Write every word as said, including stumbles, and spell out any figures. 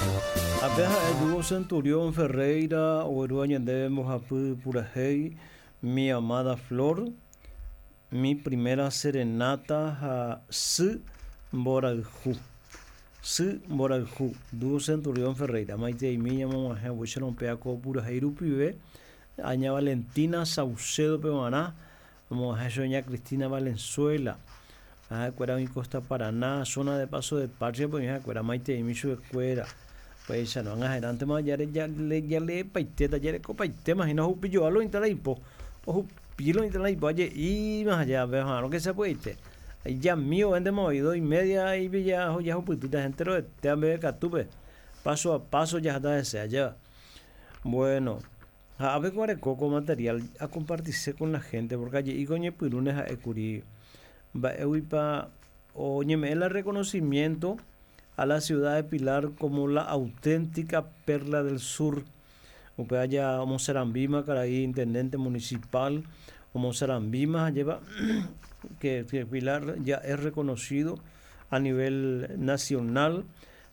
Ape ha'e Dúo Centurión Ferreira oguerúva ñandéve mbohapy purahéi Mi amada flor, Mi primera serenata ha Sy mborayhu. Sy mborayhu, Dúo Centurión Ferreira. Maiteimi ñamog̃uahẽ upéicharõ péa ko purahéi rupive Aña Valentina Saucedo-pe g̃uarã omog̃uahẽ chupe ña Cristina Valenzuela. Ha'ekuéra oĩ Costa Paraná, zona de Paso de Patria-pe oĩ ha'ekuéra maiteimi chupekuéra. Upéicharõ ag̃aherántema jaleepaitéta jarekopaitéma hína ohupijoa lo oĩta la ipo ohupi lo oĩta la ipo aje'íma ha jave oha'arõ que sapy'aite ijami ovéntema oĩ dos y media jahupytýta enteroete ambevekatúpe paso a paso jaháta hese ajéva. Bueno, ha ápe ko areko ko material acompartise con la gente porque aje'íko oñepyrũne ha'ékuri mba'éguipa oñeme'ẽ la reconocimiento a la ciudad de Pilar como la auténtica perla del sur. Upéva ja omosarambíma karai intendente municipal omosarambíma ajépa que, que Pilar ya es reconocido a nivel nacional.